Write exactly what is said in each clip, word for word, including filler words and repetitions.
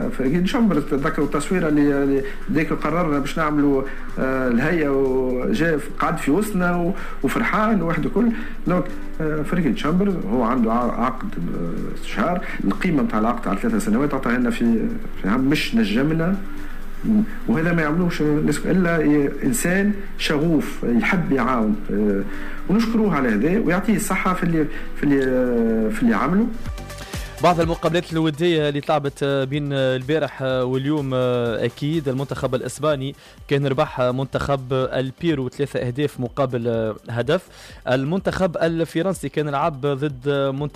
فريق شامبرز، تذكروا التصويره اللي ديك قررنا باش نعملوا آه، الهيئه، وجاء قعد في وسطنا وفرحان وحده كل. donc فريق تشامبرز هو عنده عقد شهر، القيمة نتاع العقد على ثلاث سنوات عطاها لنا في في عام، مش نجمنا. وهذا ما يعملوش الا انسان شغوف يحب يعاون، ونشكروه على هذا ويعطيه الصحة في اللي في اللي في اللي عمله. بعض المقابلات الودية اللي تلعبت بين البارح واليوم، أكيد المنتخب الإسباني كان ربح منتخب البيرو ثلاثة أهداف مقابل هدف. المنتخب الفرنسي كان لعب ضد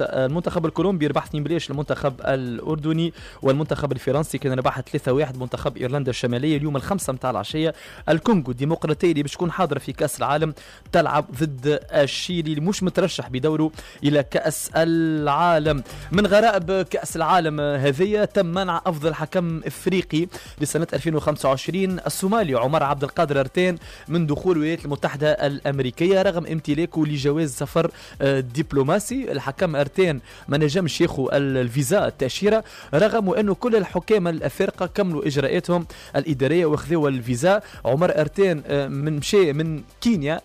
المنتخب الكولومبي، ربح اثنين بلاش المنتخب الأردني. والمنتخب الفرنسي كان ربح ثلاثة واحد منتخب إيرلندا الشمالية. اليوم الخمسة متاع العشية الكونغو الديمقراطية اللي باش تكون حاضرة في كأس العالم تلعب ضد الشيلي اللي مش مترشح بدوره إلى كأس العالم. من غرائب كأس العالم هذه تم منع أفضل حكم إفريقي لسنة ألفين وخمسة وعشرين الصومالي عمر عبد القادر أرتين من دخول الولايات المتحدة الأمريكية رغم امتلاكه لجواز سفر دبلوماسي. الحكم أرتين ما نجمش ياخذ الفيزا التأشيرة رغم أنه كل الحكام الأفارقة كملوا إجراءاتهم الإدارية واخذوا الفيزا. عمر أرتين من مشى من كينيا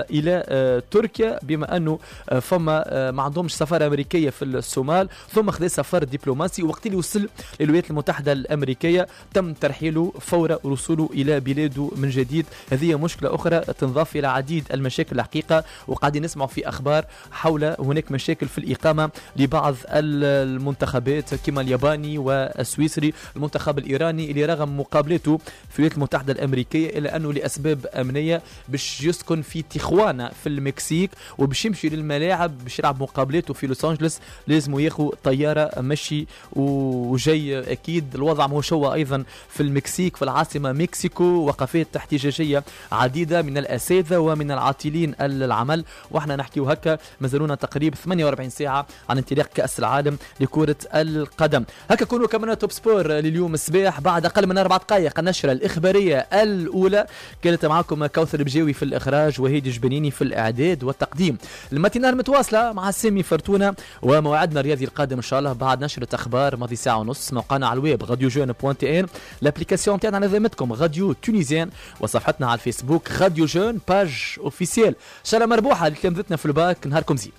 إلى تركيا بما أنه فما ما عندهمش سفارة أمريكية في الصومال، ثم خذ سفر دبلوماسي. وقت اللي وصل للولايات المتحدة الأمريكية تم ترحيله فور وصوله إلى بلاده من جديد. هذه مشكلة أخرى تنضاف إلى عديد المشاكل الحقيقة، وقاعدين نسمع في أخبار حول هناك مشاكل في الإقامة لبعض المنتخبات كما الياباني والسويسري. المنتخب الإيراني اللي رغم مقابلته في الولايات المتحدة الأمريكية إلا أنه لأسباب أمنية باش يسكن في تيخوانا في المكسيك وباش يمشي للملاعب باش يلعب مقابلته في لوس أنجلس لازم ياخذ طيارة مشي وجاي. أكيد الوضع مش هو أيضا في المكسيك في العاصمة مكسيكو، وقفات احتجاجية عديدة من الأساتذة ومن العاطلين العمل. وإحنا نحكيو هكا مازالونا تقريبا ثمانية وأربعين ساعة عن انطلاق كأس العالم لكرة القدم. هكا كونوا كمان Top Sport لليوم الصباح بعد أقل من أربع دقائق النشرة الإخبارية الأولى. كانت معكم كوثر بجاوي في الإخراج وهيدي جبنيني في الإعداد والتقديم. ال matinale متواصلة مع سامي فرتونة، وموعدنا الرياضي القادم إن شاء الله بعد نشرة أخبار ماضي ساعة ونص. موقعنا على الويب radio jeune point tn، l'application تاعنا على ذمتكم Radio Tunisienne، وصفحتنا على الفيسبوك Radio Jeune page officielle. إن شاء الله مربوحة لتلامذتنا في الباك، نهاركم زين.